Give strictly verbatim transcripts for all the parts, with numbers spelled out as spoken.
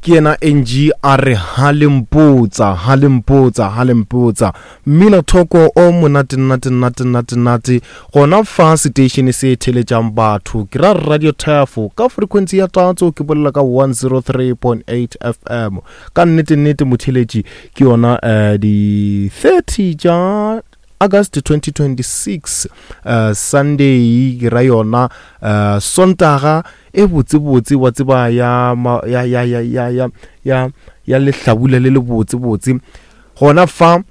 Ke yena N G a re halempotsa, halempotsa, halempotsa. Mmina thoko o monate nate nate nate nate gona fa station se theletšang batho, ke ra Radio Tafo ka frequency ya tatso, ke bolela ka one oh three point eight F M. Ka nnete nnete, motheletši, ke yona uh, di thirty tša August twenty twenty-six, uh, Sunday, ke ra yona uh, Sontaga e botsebotse, wa tseba, ya ya ya ya ya ya ya ya lehlabula le le botsebotse gona fa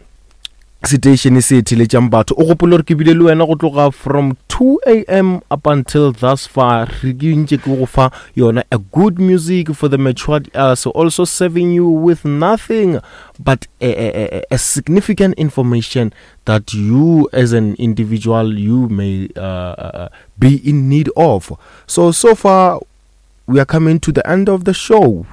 station se theletšang batho. O gopole gore ke bile le wena go tloga from two a m up until thus far. Re ke ntše ke go fa yona a good music for the matured ears, also serving you with nothing but a, a, a, a significant information that you as an individual, you may uh, uh, be in need of. So so far we are coming to the end of the show,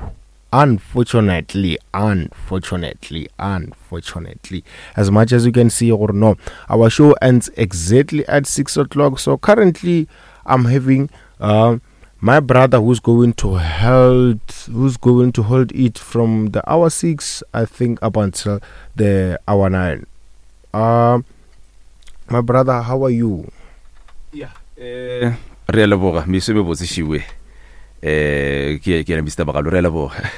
unfortunately, unfortunately, unfortunately. As much as you can see or no, our show ends exactly at six o'clock. So currently I'm having uh, my brother who's going to hold who's going to hold it from the hour six, I think, up until the hour nine. uh, my brother, how are you? Yeah, eh re a leboga, meso me botse šiwe. eh ke ke ena Mister Magano, re a leboga.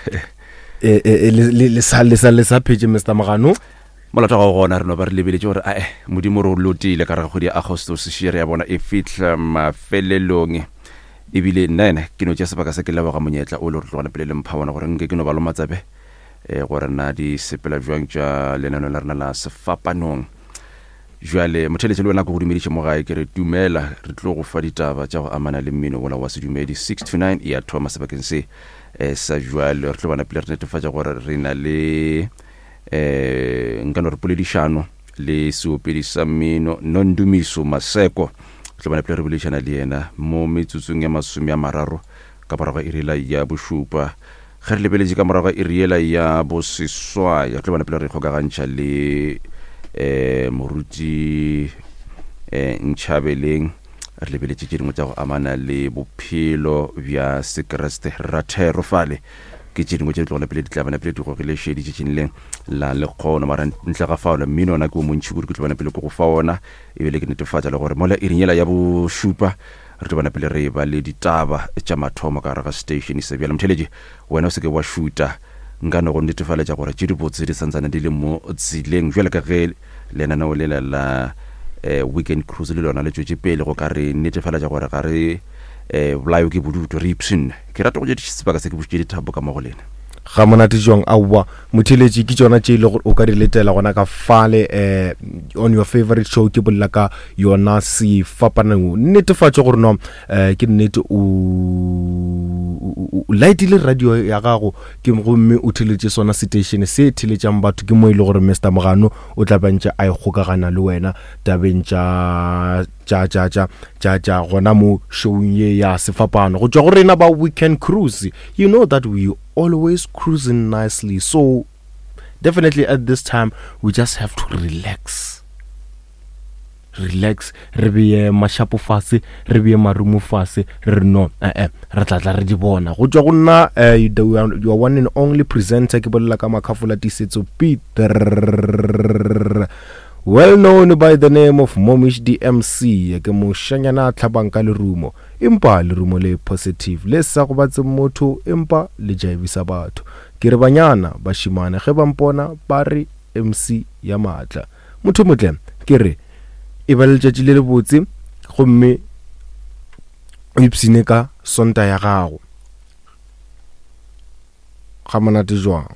eh, eh, le le sa le sa le sa phetse, Mister Magano? Molato ga gona, re no ba re lebeletše gore ae Modimo re o lotile ka re ga kgwedi ya Agostos še re ya bona e fitlha mafelelong. Ebile nna ena ke no tšea sebaka se ke leboga monyetla o le gore tlogana pele le mpha bona gore nke ke no ba lo matsabe um gore na di sepela jwang tša lenaneo la rena la Sefapanong. Jwale motheletše, le wena ke go dumediše mo gae, ke re dumela. Re tlo go fa ditaba tša go amana le mmino wola wa sedumedi, six to nine e ya thoma sebakeng se um sa jwale. Re tlo bona pele re netefatša gore re na le um nka no re poledišano le seopedi sa mmino Nondumiso Maseko. Re tlo bona pele re boledišana le yena mo metsotsong ya masome a mararo ka morago ga irela ya bošupa. Ge re lebeletše ka morago ga iriela ya boseswai, re tlo bona pele re ikgokagantšha le um moruti um Ntšhabeleng. Re lebeletše tše dingwe tša go amana le bophelo bja sekeresete, rathero fale, ke tše dingwe tše di tlogela pele di tla bana pele di gogile šedi tšatšing le la lekgono. Mara ntle ga fao, mmino ona ke o montšhi kudu, ke tlo bana pele ke go fa ona. Ebile ke netefatša le gore mola iring yela ya bošupa re tlo bana pele re ba le ditaba tša mathomo ka gare ga station se. Bjale motheletši, wena o se ke wa šuta, nka no go netefaletša gore tše dibotse di santsane di le mo tseleng, jwale ka ge lenaneo lela la um Weekend Cruise le lona le tšwetše pele go ka re netefaletša gore ga re um bolayo ke bodutu, re ipshinne. Ke rata go tše sebaka se ke bušitše dithapo ka mo go lena. Ga monate jwang! Aowa motheletši, ke tšona tše e le gore o ka di letela gona ka fale um on your favorite show, ke bolela ka yona Sefapanong. Netefatše gore no um ke nnete o o lightile radio ya gago ke gomme o theletše sona station se theletšang batho. Ke mo e le gore Mister Mogano o tla bantše a ikgokagana le wena tabeng tša tša tša tša tša tša gona mo showing ye ya Sefapano. Go tšwa go rena ba Weekend Cruise, you know that we always cruising nicely, so definitely at this time we just have to relax, relax, re beye mašapo fase, re beye marumo fase, re re no ee re tla tla re di bona. Go tšwa go nna uh, your one and only presenter, ke bolela ka Makhafola Tisetso Peter, well known by the name of Momish D M C. Ke mošanyana a tlhabang ka lerumo, empa lerumo le positive le sa gobatse motho, empa le jaebisa batho. Ke re banyana bašimane ge ba mpona ba re M C ya maatla. Motho motle, ke re e ba letšatši le lebotse gomme o ipsine ka Sonta ya gago. Ga monate jwang!